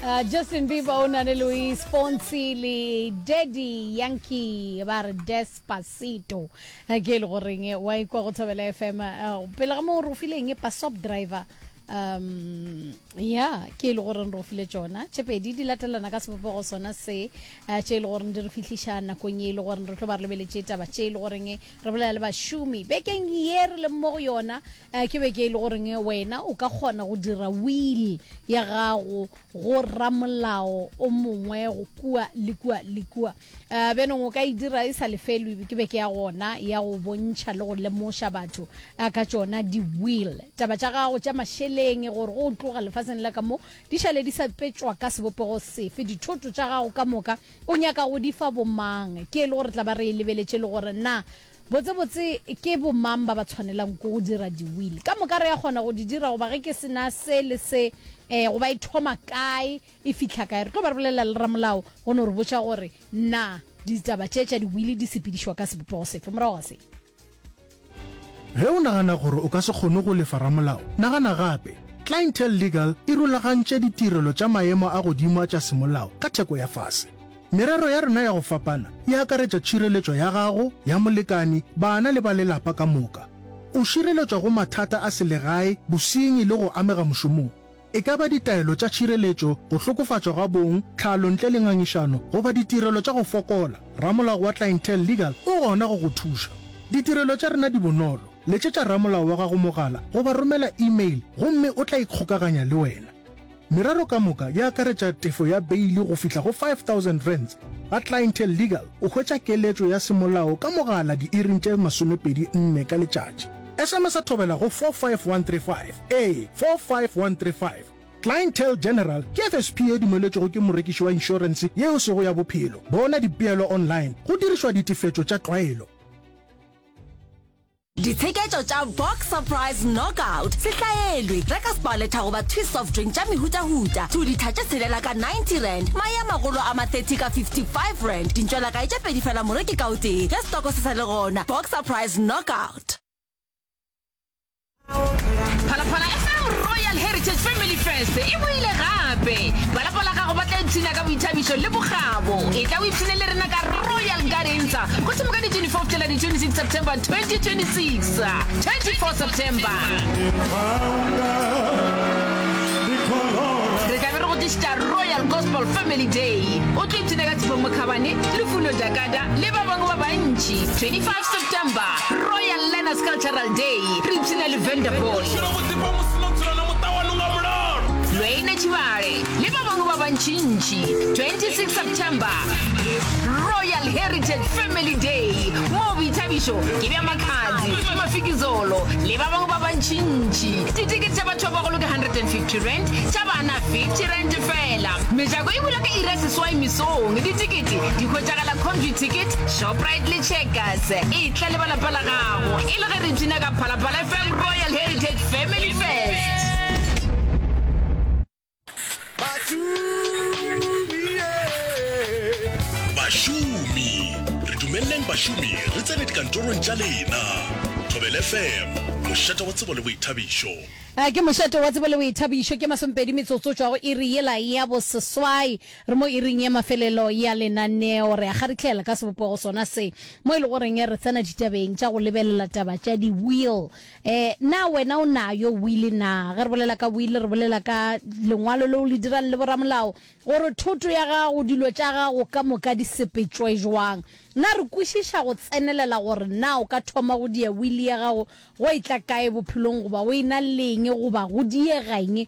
Uh, Justin Bieber o na le Luis Fonsi le Daddy Yankee ba re Despacito eh, ke e le goreng eh, wa ikwa go Thobela FM eh, pele ga moo re o file eng Pasop Driver um ya ke e le goreng re o file tšona tše pedi di latelana ka sebopego sona se tše e le goreng di re fihliša nakong ye e le goreng re tlo ba re lebeletše taba tše e le goreng re bolela le bašomi bekeng ye re leng mo go yona Ke beke e le goreng wena o ka kgona go dira will ya gago go ramolao o mongwe go kua le kua le kua. Bjanong o ka e dira e sa lefelwe, ke beke ya gona ya go bontšha le go lemoša batho ka tšona di-will. Taba tša gago tša mašeleng gore go tloga lefaseng la ka mo di šale di sa petšwa ka sebopego sefe, dithoto tša gago ka moka o nyaka go di fa bomang, ke e le gore tla ba re e lebeletše le gore na Botsebotse ke bomang ba ba tshwanelang ke go dira di-will? Ka moka re a kgona go di dira goba ge ke se na se le se um goba e thoma kae e fihla kae? Re tlo ba re bolelela le ramolao go no re botša gore na ditaba tše tša di-will di sepedišwa ka sebopego sefe morago ga se. Ge o nagana gore o ka se kgone go lefa ramolao, nagana gape. Clientele Legal e rulagantše ditirelo tša maemo a godimo a tša semolao ka theko ya fase. Merero ya rena ya go fapana e akaretša tšhireletšo ya gago, ya molekani, bana le ba lelapa ka moka. O šireletšwa go mathata a selegae, bosenyi le go amega mošomong. E ka ba ditaelo tša tšhireletšo, go hlokofatšwa ga bong, tlhalo ntle le ngangišano goba ditirelo tša go fokola, ramolao wa Clientele Legal o gona go go thuša. Ditirelo tša rena di bonolo, letšetša ramolao wa gago mogala goba romela email gomme o tla ikgokaganya le wena. Merero ka moka e akaretša tefo ya beili go fihla go R5000. Ga Clientele Legal o hwetša keletšo ya semolao ka mogala diiring tše 24 ka letšatši. SMS-a thobela go 45135, ee, 45135. Clientele General ke FSP ye dumeletšwego ke morekiši wa inšorense ye e sego ya bophelo. Bona dipeelo online go dirišwa ditefetšo tša tlwaelo. Ditsheketšo tša Box Surprise Knockout se hlaelwe. Reka Sparletta goba Twist soft drink tša mehutahuta, 2 litha tše tshelela ka R90, mae a magolo a ma 30 ka R55, dintšwelakae tše pedi fela moreki ka o tee, ge setoko se sa le gona. Box Surprise Knockout. Phalaphala FM Royal Heritage Family Fest e boile gape! Ba lapa la gago ba tla ipshina ka boithabišo le bokgabo. Etla o ipshine le rena ka Royal Gardens go thoma ka di 24 go fihlela di 26 September 2026. 24 September. Re tla be re go tlišetša Royal Gospel Family Day. O tlo ipshina ka Tshepo Mokhabane, Lufuno Jakada le ba bangwe ba bantši. 25 September, Royal Learners Cultural Day, re ipshina le Vanderpool. Lweine Tšhibale le ba bangwe ba bantšintši. 26 September, Royal Heritage Family Day, moo boithabišo ke bja Makhadzi, Mafikizolo le ba bangwe ba bantšintši. Ditekete tša batho ba bagolo ke R150, tša bana R50 feela. Mejako e bula ka iri ya seswai mesong. Ditekete di hwetšagala Computicket, Shoprite le Checkers. Etla le ba lapa la gago e le ge re ipshina ka Phalaphala FM Royal Heritage Family Fest. Bašomi, re dumeleleng bašomi re tsene dikantorong tša lena. Thobela FM, mošate wa tsebo le boithabišo. Ke mošate wa tsebo le boithabišo, ke masomepedi metsotso tšwa go iri yela ya boseswai. Re mo iring ya mafelelo ya lenaneo, re a kgarihlela ka sebopego sona se, mo e le goreng re tsena ditabeng tša go lebelela taba tša di-will. Eh, na wena o nayo will na? Ge re bolela ka will, re bolela ka lengwalo leo le dirang le boramolao gore thoto ya gago, dilo tša gago ka moka di sepetšwe jwang. Na re kwešiša go tsenelela gore na o ka thoma go dia will ya gago go etla kae bophelong goba o e na leng goba go diega eng?